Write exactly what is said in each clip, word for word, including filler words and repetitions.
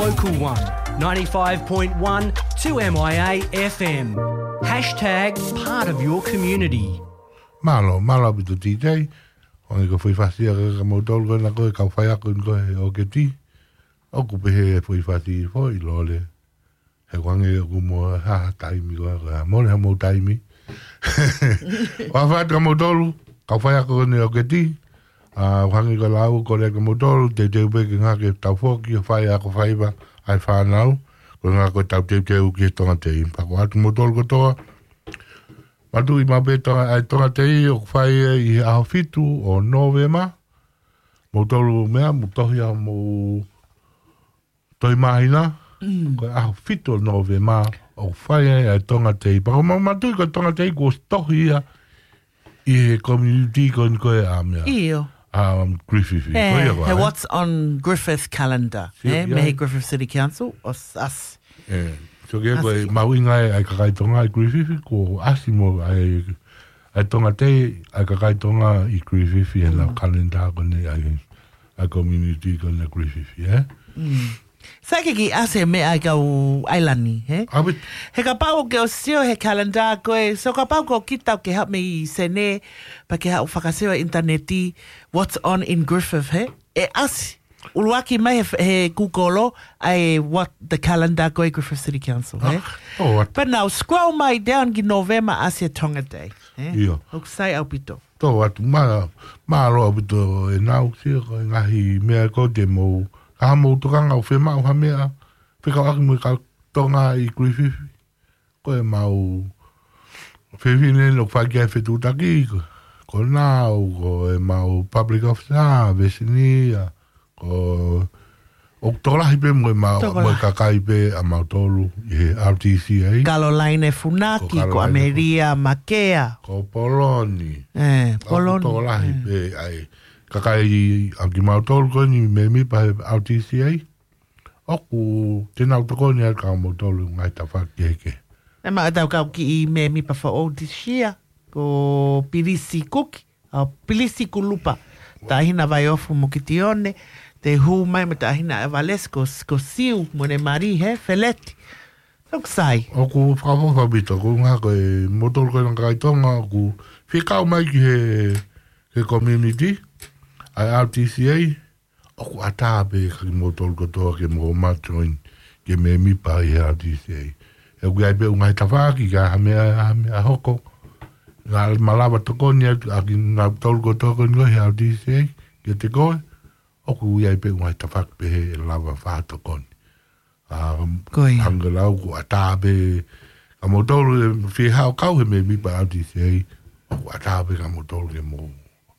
Local one, ninety-five point one two M I A F M. Hashtag part of your community. Mālō, mālō ʻaupito T J. ʻOku ʻi ai e foʻi fasi ʻa kimoutolu ko ena ko e kau faiako ko ē ʻo e ʻoketi. ʻOku pehē e foʻi fasi foʻi Lole. He ʻoku hangē ʻoku mou ʻi ha taimi ko ē, ko e mole ha mou taimi. ʻOfa atu kia moutolu, kau faiako ko eni ʻo e ʻoketi. ʻA, ʻoku hangē ko e lau ko ē kia moutolu, teuteu pē ke ngāueʻaki ʻetau foki, ʻo fai ako faiva, ʻa e fānau, ko e ngāue ko ē ʻetau teuteu ki he Tonga Tei. Pea ʻoatu kia moutolu kotoa, mātuʻaki maʻu pē Tonga, ʻa e Tonga Tei, ʻoku fai ʻi he ʻaho fitu ʻo Nōvema, moutolu meʻa, mou tohi ʻa hoʻomou tohi māhina, ko e ʻaho fitu ʻo Nōvema, ʻoku fai ai ʻa e Tonga Tei. Pea ʻoku mau mātuʻaki ko e Tonga Tei kuo ʻosi tohi ia ʻi he community ko eni ko ē ʻa meʻa. ʻIo. ʻA, um, Griffith. Ko ia ko ē, he What's on Griffith calendar, mei he Griffith City Council, ʻosi ʻasi. ʻE, so ke ko e mahuʻinga ʻa e kakai Tonga ʻi Griffith, kuo ʻasi mo ʻa e, ʻa e Tonga Tei, ʻa e kakai Tonga ʻi Griffith, ʻi heʻenau calendar ko eni ʻa e, ʻa e community ko eni ʻa Griffith, ē? Sai ke kiʻi ʻasi e meʻa ʻa e kau ʻailani, ē? ʻAupito. He kapau ʻoku ke ʻosi sio he calendar ko ē, so kapau ko kita ke haʻu mei Senē, pea ke haʻu fakasio he ʻinitaneti, what's on in Griffith, ē? ʻE ʻasi. ʻUluaki mai he, he Google ʻa e what the calendar ko ē Griffith City Council, ē? Pea nau scroll mai down ki November ʻasi e Tonga Tei, ē? ʻIo. ʻOku sai ʻaupito. Tō atu, mā, mālō ʻaupito ʻenau sio ko e ngaahi meʻa ko ē te mou, ka mou tokanga ʻo fiemaʻu ha meʻa, fekauʻaki mo e kau Tonga ʻi Griffith. Ko ʻemau fefine ʻoku fai ki ai e fetuʻutaki, ko, ko nau, ko ʻemau public officer, vesinia, ko, ʻoku tokolahi pē mo ʻemau, mo e kakai pē ʻa mautolu ʻi he R T C A. Caroline Funaki, ko Caroline Amelia Makea. Ko Poloni. ʻE, ʻoku Poloni. Tokolahi pē ʻa e kakai ʻa kimautolu ko eni mēmipa he R T C A. ʻOku te nau tokoni atu kia moutolu ngaahi tafaʻaki kehekehe. ʻE maʻa tau kau kiʻi mēmipa foʻou this year, ko Pilisi Kuki, ʻa Pilisi Kulupa, Taʻahine Vaiofu mo Kitione, te hū mai mo Taʻahine Evalesi, ko, ko Siu, mo ne mari he Feleti. ʻOku sai. ʻOku fakaʻofoʻofa ʻaupito, ko e ʻuhinga ko e moutolu ko ena kakai Tonga, ʻoku fekau mai ki he, he community, ʻa e R T C A, ʻoku ʻatā pē kia kimoutolu kotoa ke mou mā join, ke mēmipa ʻi he R T C A. ʻOku ʻi ai pē ʻū ngaahi tafaʻaki, ka ha meʻa, ha meʻa hoko. Ka malava tokoni atu, ʻa kimoutolu kotoa ko eni he R T C A, kiate koe, ʻoku ʻi ai pē ʻū ngaahi tafaʻaki pehē ʻe lava fakatokoni. ʻA, ko ia. Hangē ko e lau ʻoku ʻatā pē kia moutolu ʻe fie haʻu ʻo kau he mēmipa R T C A, ʻoku ʻatā pē kia moutolu ke mou,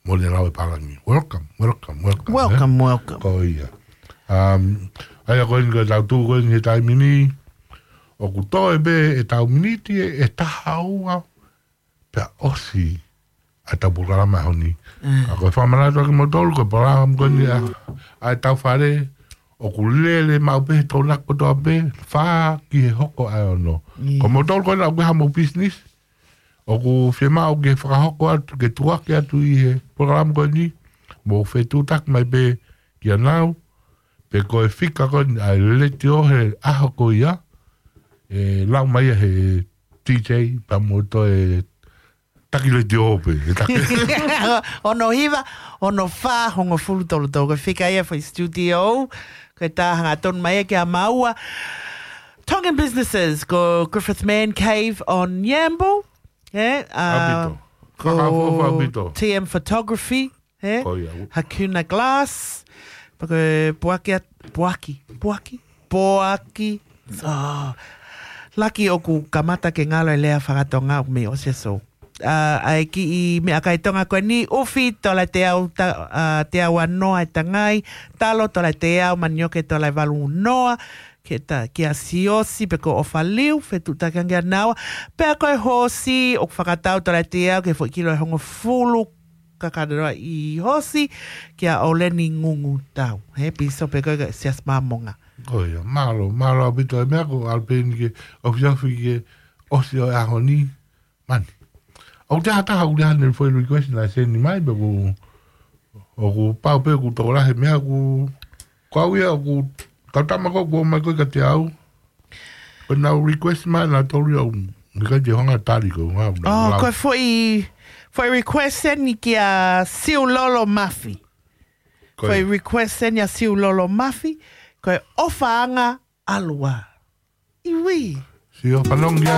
mou lau e pālangi. Welcome, welcome, welcome, ē? Welcome, welcome. Ko ia. Um, ʻa ia ko eni ko e tau tuʻu ko eni he taimi ni, ʻoku toe pē ʻetau miniti ʻe, ʻe taha ua, pea ʻosi ʻa ʻetau polokalama he ʻaho ni. Mm. Ka ko e fakamanatu atu kia moutolu, ko e polokalama ko eni ʻa, ʻa ʻetau fale, ʻoku lele maʻu pē he Tokonaki kotoa pē, fā ki he hoko ʻa e ono. Yes. Ko moutolu ko ena ʻoku ʻi ai hamou business, ʻoku fiemaʻu ke fakahoko atu, ke tuku hake atu ʻi he polokalama ko eni, mou fetuʻutaki mai pē kia nau, pe ko e fika ko eni ʻa e letiō he ʻaho ko ia, ʻe lau mai ia he D J, pea mou toe taki letiō pē, he taki. Ono hiva, ono fā, hongofulu tolu tolu, ko e fika ia foʻi studio, ko e tā hangatonu mai ia kia maua. Tongan businesses, ko Griffith Man Cave on Yambo, ē, ʻa, ʻaupito. Ko Fakaʻofoʻofa ʻaupito. T M Photography, ē? Ko ia. Hakuna Glass. Pea ko e puaki at-, puaki, puaki, puaki. Oh. Laki ʻoku kamata ke ngalo e lea fakatonga ʻoku mei ʻosi e sou. ʻA, ʻa e kiʻi meʻakai Tonga ko eni, ʻufi, tola ʻe teau ta-, ʻa, teau ua noa e tangai, talo, tola ʻe teau, manioke, tola ʻe valu noa, ke ta, kia Siosi, pe ko ʻOfa Liu, fetuʻutaki ange kia naua, pea ko e hoosi, ʻoku fakatau tola ʻe teau, ki he foʻi kilo ʻe hongofulu, kakano ʻi hoosi, kia ʻOleni Ngungutau. He pīsope ko ē Siasi Māmonga. Ko ia, mālō, mālō ʻaupito e meʻa ko ʻAlipeni ke ʻofiʻofi ke ʻosi ʻo e ʻaho ni, mani. ʻOku te hataha ʻoku te hane foʻi request naʻe send mai pē ʻoku, ʻoku pau pē ʻoku tokolahi e meʻa ʻoku, ko au ia ʻoku Kau tama ko ʻoku ō mai ko ē kiate au. Ko ʻenau request mai nautolu ia ʻoku ʻikai te u hanga ʻo tali ko ʻenau. Oh, ko e foʻi, foʻi request eni kia Siulolo Mafi. Ko e. Foʻi request eni ʻa Siulolo Mafi. Ko e ʻOfaʻanga ʻAlua. ʻIo. Sio fanongo ia